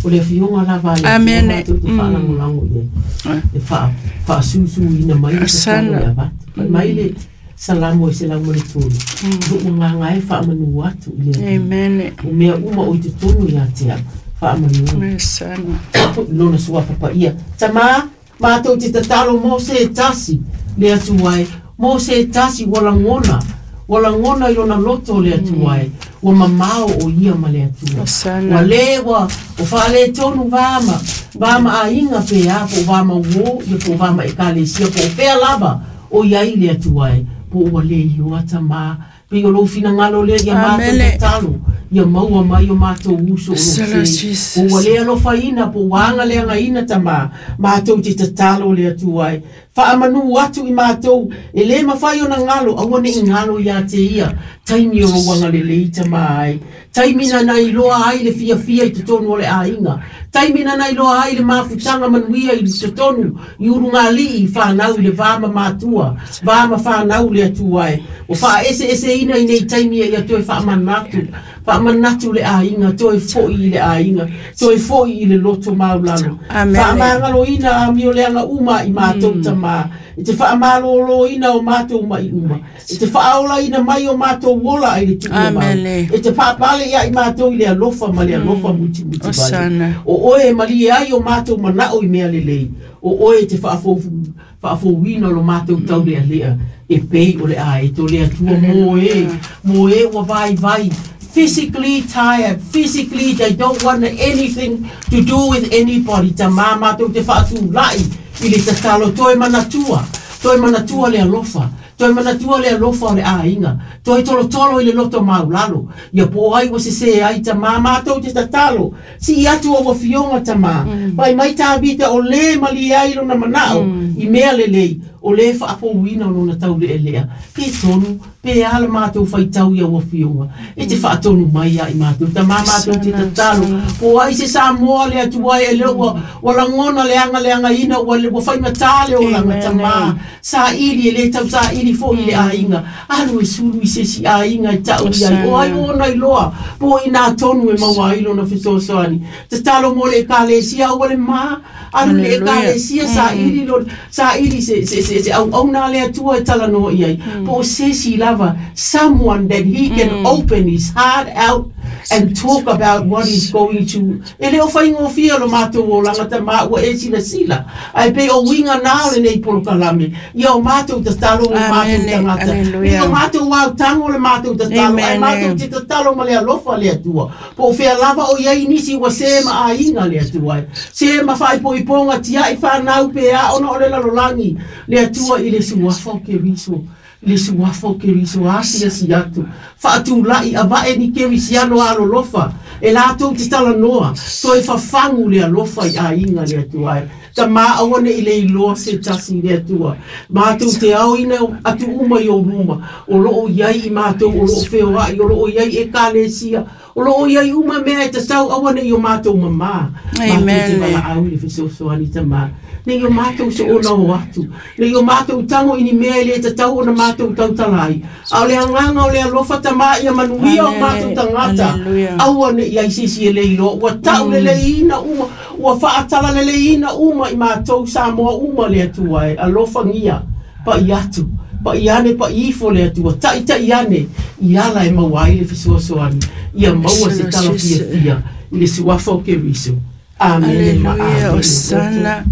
O le afioga lava a le Atua matou te faalagolago i ai, e faasusuina mai le tatalo e avatu. Fai mai le Salamo e 103, Lou agaga e faamanu atu i le Alii. O mea uma o i totonu ia te au, faamanu i lona suafa paia. Tama, matou te tatalo mo se tasi, le Atua e, mo se tasi ua lagona, ua lagona i lona loto le Atua e, ua mamao o ia ma le Atua. Ua le, ua faaletonu va ma, va ma aiga pe a, po o va ma uō, ia po o va ma ekalesia, po o fea lava o i ai le Atua e, po ua le iloa tama. Pei o lou finagalo lea ia matou tatalo, ia maua mai o matou uso o lou se, po ua le alofaina, po ua agaleagaina tama, matou te tatalo le Atua e, faamanu atu i matou, e le mafai ona galo, aua ne i galo ia te ia, taimi o lou agalelei tama ai, taimi na na iloa ai le fiafia i totonu o le aiga, taimi na na iloa ai le mafutaga manuia i totonu i ulugalii whanau i le va ma matua, va ma whanau le Atua e, o faaeseeseina i nei taimi ia toe faamanatu, faamanatu le aiga, toe foi i le aiga, toe foi i le loto maulalo. Faamagaloina amioleaga uma i matou tama, i te faamaloloina o matou mai uma, i te faaolaina mai o matou ola ai le tuua mau, e te paapale ia i matou i le alofa ma le alofa mutimuti vale. O oe e malie ai o matou manao i mea lelei, o oe e te faafouina lo matou taulealea, e pei o le aeto le Atua mo e ua vaivai, physically tired, physically they don't want anything to do with anybody. Tama matou te faatulai i le tatalo, toe manatua le alofa, toe manatua le alofa o le aiga, toe tolotolo i le loto maulalo, ia po ai ua sese ai tama matou te tatalo, si atu o ua fioga tama, fai mai Tavita o le malie ai lona manao, i mea lelei, o le faafouina o lona taulealea, pe tonu, pe a le matou faitau ia ua fioga, e te faatonu mai ia i matou, tama matou te tatalo, po ai se Samoa le Atua e le ua, ua lagona le agaleagaina, ua faigata le olaga tama, saili e le tau saili foi i le aiga, alu e sulu i se si aiga e tau i ai, o ai ona iloa, po i nā tonu e maua ai lona fesoasoani, tatalo mo le ekalesia aua le ma, alu le ekalesia saili lo, saili se auauna le Atua e talanoa i ai, po o se si lava, someone that he can open his heart out and talk about what he's going to. E le o whaingofia lo mātou o langata mā ua e sila sila. Ai pe o winga nā o le nei polokalame. Ia o mātou tatalo o mātou tangata. Ia o mātou wau tango le mātou tatalo. Ai mātou te tatalo ma le alofa le Atua. Po o whea lava o iai nisi ua se ma aiga le Atua. Se ma whaipoiponga tiai whanau pe a ona o le lalolangi le Atua i le suafa o Keriso. Le suafa o Keriso asia si atu. Faatulai avae ni Kerisiano alolofa. E lātou te talanoa. Toe fafangu le alofa i aiga le Atua e. Tama aua ne i le iloa se tasi le Atua. Mātou te ao ina atu uma i o ruma. O loo iai i mātou o loo wheoai. O loo iai e kalesia. O loo iai uma mea e tatau aua ne i o mātou mamā. Mātou te wala au i le fesoasoani tama. Nei o mātou so ona o atu. Nei o mātou tango i ni mea e le tatau ona mātou tautalai. A o le anganga o le alofa tama ia manuia o mātou tangata. Aua ne i ai sisi e le iloa. Ua tau le leina uma. Ua whaatala le leina uma i mātou Samoa uma le Atua e. Alofa ngia. Pai atu. Pai ane pai ifo le Atua. Tai tai ane. I ala e maua ai le fesoasoani. Ia maua se tala fiafia i le suafa o Keriso. Amen. Aleluia, Osana.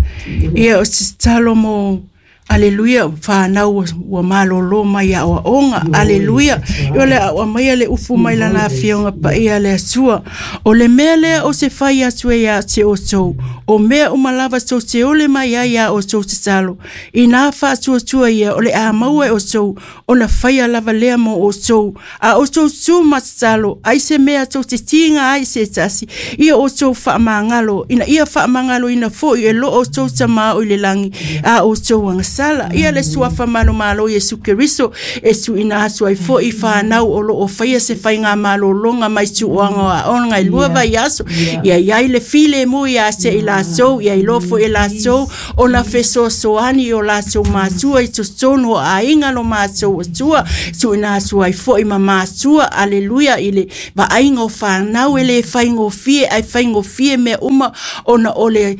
Ia o se tatalo mo Aleluia, whanau ua malolo mai a oaonga. Aleluia. Ia le aua mai le ufu mai lana afioga paia le Atua. O le mea lea o se fai atu e ia te outou. O mea uma lava tou te ole mai ai ia outou tatalo. Ina faatuatua ia o le a maua e outou, ona faia lava lea mo outou. A outou tu ma tatalo, ai se mea tou te tiga ai se tasi, ia outou faamagalo, ina ia faamagaloina foi e lo outou Tama o i le langi, a outou agasala. tala. Ia le suafa manumalo Iesu Keriso e tuuina atu ai fo'i i fanau o loo faia se faigamalologa mai tuuaga o aoga e 2 vaiaso. Ia iai le filemu ia te i latou, ia iloa foi e latou ona fesoasoani i o latou matua i totonu o aiga lo matou Atua. Tuuina atu ai foi ma matua, aleluia, i le vaaiga o fanau e le faigofie, ae faigofie mea uma ona o le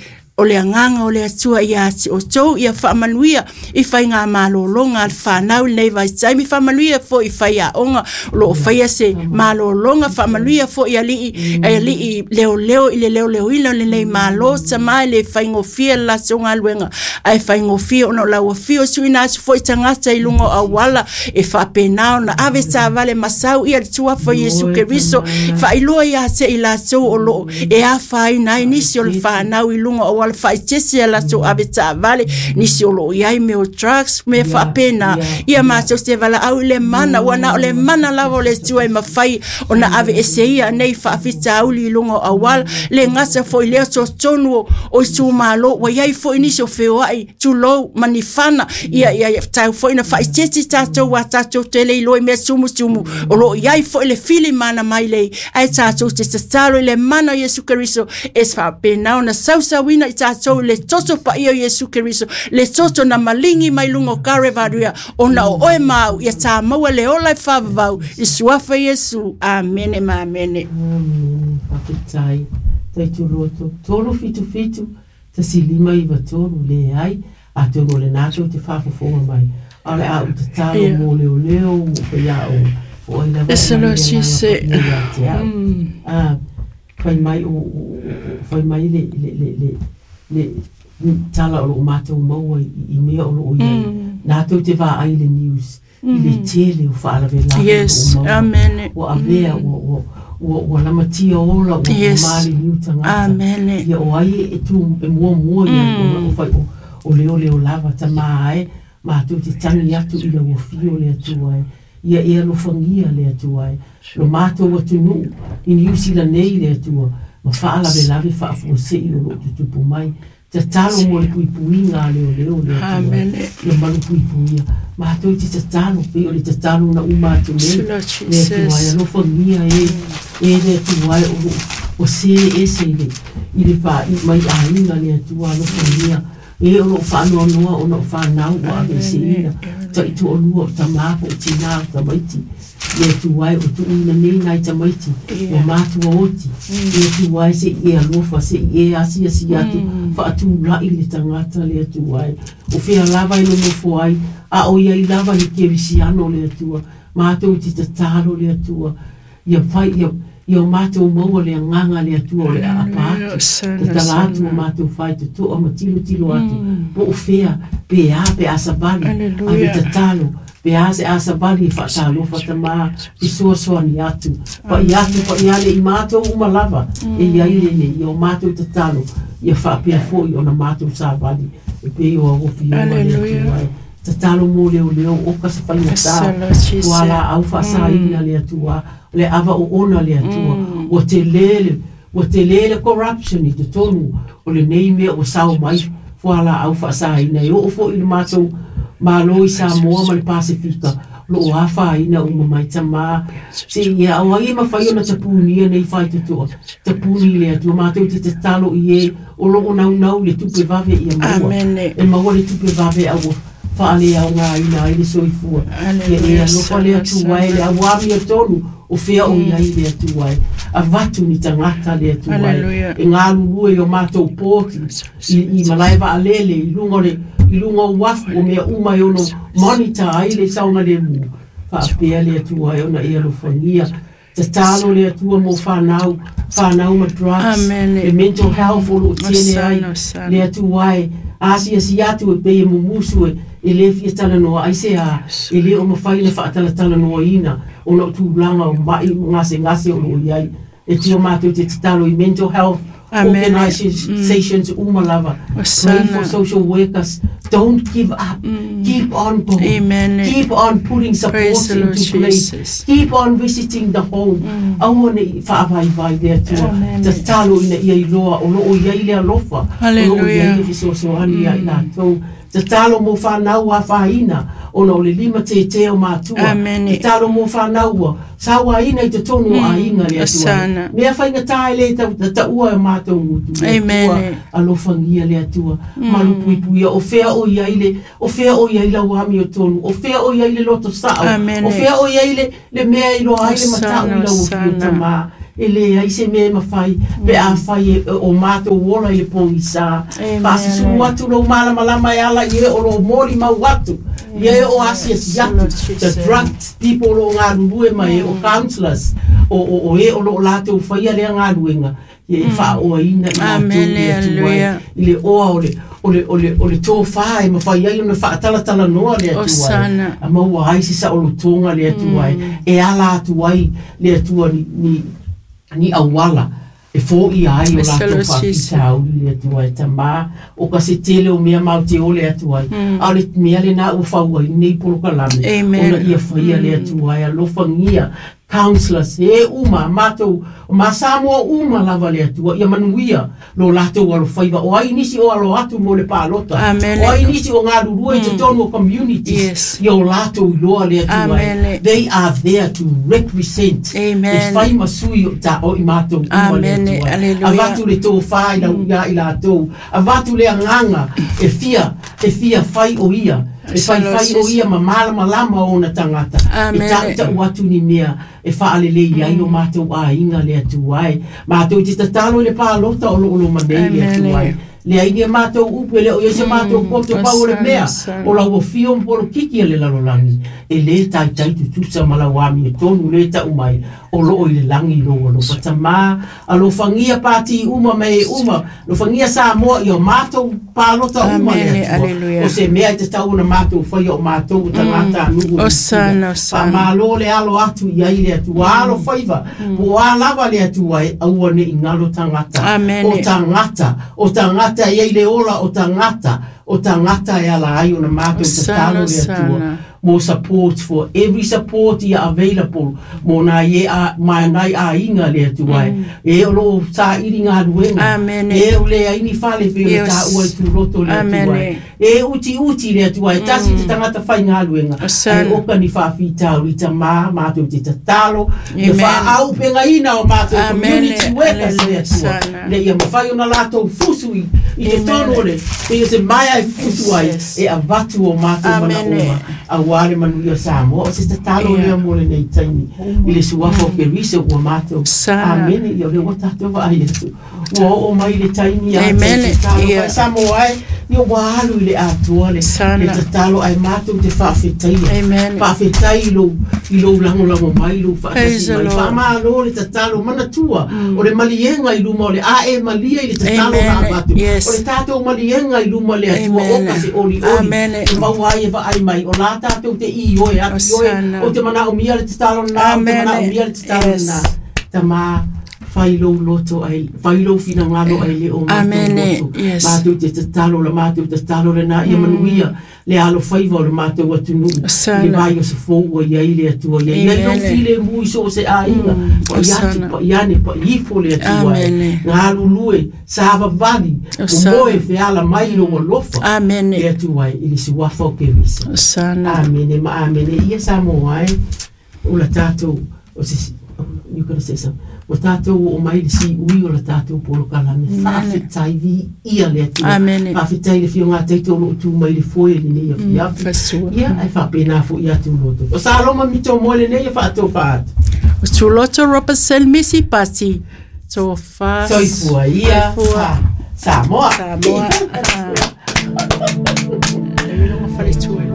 agaga o le Atua ia te outou. Ia faamanuia i faigamalologa a le fanau i lenei vaitaimi, faamanuia foi i faiaoga o lo o faia se malologa, faamanuia foi alii leoleo i le leoleoina o lenei malo. Tama e le faigofie le latou galuega, ae faigofie ona o lau afio. Tuuina atu foi tagata i luga o auala e faapena ona ave taavale masau ia le tuafa Iesu Keriso, faailoa ia te i latou o loo e afaina ai nisi o le fanau i luga o auala, faaeteete a latou ave taavale, nisi o loo iai mea o drugs, mea faapena. Ia matou te valaau i le mana, ua na o le mana lava o le Atua e mafai ona ave ese ia nei faafitauli i luga o auala. Le gata foi lea, totonu o itumalo ua iai foi nisi o feoai tulou manifana. Ia tau foi na faaeteete tatou a tatou tele iloa i mea tumutumu o loo iai foi le fili mana mai lei, ae tatou te tatalo i le mana o Iesu Keriso e faapena ona sausauina i tatou i le toto paia o Iesu Keriso, le toto na maligi mai luga o Karevaria, ona o oe ma au ia tā maua le ola e faavavau i suafa Iesu. Amene ma amene. Amene. Faafetai. Taituloto 377 1593 leai, atonu o lena tou te faafofoga mai, a o le a ou tatalo mo leoleo mo faiaoga o ai lava e aumai le agaga paia ia te au. Fai mai o fai mai le le le le le tala o loo matou maua i mea o loo iai, latou te vaai i le news i le tele o faalavelave Yes, o loo maua. Amen. Ua avea ua ua ua lamatia ola ua Yes. maliliu tagata. Amen. Ia o ai e tu e muamua iai ona o fai o leoleo lava tama e matou te tagi atu i lau afio le Atua e. Ia e alofagia le Atua e lo matou atunuu i Niu Sila nei le Atua ma faalavelave faafuasei o loo tutupu mai. Tatalo mo le puipuiga a leoleo le Atua e. Amen. Ia malu puipuia. Matou te tatalo pei o le tatalo na uma atu nei Lord le Atua e Jesus. alofagia e e le Atua e o loo ua se ese i le i le faai mai aiga le Atua alofagia e o loo faanoanoa ona o fanau ua aveeseina taitoalua o tamā po o tinā o tamaiti le Atua e o tuuina nei nai tamaiti ua matua oti le Atua e se'i e alofa se'i e asiasi atu faatula'i le tagata le Atua e o fea lava e nonofo ai a o iai lava le kerisiano le Atua. Matou te tatalo le Atua ia fai ia ia o matou maua le agaga le Atua o le aapa atu tatala atu o matou faitotoa ma tilotilo atu po o fea pe a pe a savali ave tatalo pe a se a savali e faatalofa tamā fesoasoani atu paia atu paia ale i matou uma lava e iai lenei ia o matou tatalo ia faapea foi ona matou savali e pei o auafioga le Atua e. Tatalo mo leoleo o ka se faigatā ua laau faasaina le Atua le ava oona le Atua ua tele le corruption i totonu o lenei mea ua sao mai fualaau faasaina e oo foi i le matou malo i Samoa ma le Pasefika loo afaina uma mai tamā se ia o ai e mafai ona tapunia nei faitotoa tapuni le Atua. Matou te tatalo i e o loo naunau le tupe vave ia maua e maua le tupe vave a ua faaleaogaina ai le soifua ia e alofa le Atua e le auamia tonu o fea o iai le Atua e avatu ni tagata le Atua e e galulue i o matou poti i malae vaalele i luga o le i luga o uafu o mea uma e ono monitor ai le saogalemu faapea le Atua e ona e alofagia. Tatalo le Atua mo fanau fanau ma drugs le mental health o loo tele ai le Atua e asiasi atu e pei e mumusu e le fia talanoa ai se a e le o mafai na faatalatalanoaina ona o tulaga o ma'i gasegase o loo iai e tua matou te tatalo i mental health organizations uma lava. Pray for social workers. Don't give up. Keep on going. Amen. Keep on putting supports into place. Keep on visiting the home. Aua nei faavaivai le Atua. Tatalo ina ia iloa o loo iai le alofa o loo iai le fesoasoani ia i latou. Tatalo mo whanau a whaina, ona o le lima te te o mātua. Amene. Tatalo mo whanau ua, sawa ina i te tonu o aiga le Atua. Mea whainga tae le ta ua e mātou ngutu. Amen. Alofangia le Atua. Malu puipuia, o fea o ia i le, o fea o ia i lau ami o tonu, o fea o ia i le loto sao, o fea o ia i le mea i loa ai le matau i lau o tama. E le ai se mea mawhai, pe a whai e o mātou ola i le pongisa. Paasusu atu lo malamalama e ala i e o lo moli mau atu. I e o asia si atu. The drugged people o ngā rurue mai e o counselors. O e o lo lātou whaia lea ngā ruenga. I e whaoa ina i lātou le atu ai. I le oa o le tō whā e mawhai ai o na whaatalatala noa le atu ai. A maua ai si sa o lo tōnga le atu ai. E ala atu ai le atua ni awala e fō i ai o lātou whawhitauri le atua e tamā o ka se tele o mea mau te o le atua ai. A le mea le nā ua whaua i nei polokalame. Ona ia whaia le atua ai alofangia counselors e uma mātou ma Samoa uma lava le atua ia manuia lo lātou alo whaiva o ai nisi o alo atu mo le pālota. O ai nisi o ngā rurua i te tonu o communities. Ia o lātou i loa le atua ai. They are there to represent. E whai masui o ta o i mātou uma le atua ai. Avatu le tō whai lau ia i lātou. Avatu le anganga e fia whai o ia. E whai whai o ia ma malama lama o na tangata. E ta atu ni mea e whaalelei ai o mātou a inga le atu ai. Mātou te tatalo i le pālota o lo manei le atu ai. Le ai ni mātou upu e le o ia mātou poto pau o le mea. O lau o mpolo kiki le lalolangi. E le taitai tutusa malawami e tonu le tau mai. O loo i le langi lo lo patama. Alofangia pāti uma me uma. Alofangia Samoa i o mātou pālota uma le atua. O se mea i te tau na mātou whaia o mātou o tangata anugu. Osana, osana. Pa mālo le alo atu i ai le atua. Alo whaiva. Po a lava le atua e aua ne i ngalo tangata. Amene. O tangata i ai le ola o tangata. O tangata e ala ai o na mātou tatalo le atua. More support for every support ia available mo nā ye a mai nai a inga le atu ai e o lo sa iri ngā ruenga e o le aini whale pe o ta ua i tūroto le atu ai e uti uti le atu ai tasi te tangata whai ngā ruenga e oka ni whawhitau i ta mā mātou te tatalo e wha au penga ina o mātou community workers le atua le ia mawhai o na lātou fusu i te tono le pe o se mai ai fusu ai e avatu o mātou mana oma a wale manuia Samoa o se tatalo lea mo lenei taimi i le suafa o Kerisa ua mātou. Amene. Ia o le ua tātou vaai atu. Ua oo mai le taimi a te tatalo whai Samoa ai ia ua alu i le atoa le tatalo ai mātou te whaafetaia. Whaafetai i lou lagolago mai lou whaatasi mai. Whaamalo le tatalo manatua o le malienga i luma o le ae malia i le tatalo na avatu. O le tātou malienga i luma le atua o ka se oli oli. E maua ai e vaai mai o la tātou te i oe atu oe o te mana o mia le tatalo na o te mana o mia le tatalo na. Tama whai lou loto ai, whai lou whinangalo ai le o mātou loto. Mātou te tatalo la mātou tatalo le nā ia manuia le alo whaiva o le mātou atunuu. Le vai o se fōua ia i le atua ia. Ia lou file mui so se a inga. Pa i atu, pa i ane, pa i ifo le atua ai. Ngā lulue, sāvavali, o moe feala mai lo alofa. Le atua ai, i le suafa o Kerisa. Amene ma amene. Ia Samoa ai, o la tātou, o se, you gotta say something. O tātou o mai le si ui o la tātou polokalame. Whaafetai vi ia le atua. Whaafetai le whio ngā teito o tū mai le foe le nei a fiafi. Ia, ai whapena fo ia tūloto. O Saloma mito mo le nei a whaato whaatu. O tūloto Robertson Misi Pati. Tō wha. Soifua ia. Samoa. Samoa. Le milonga whale tū.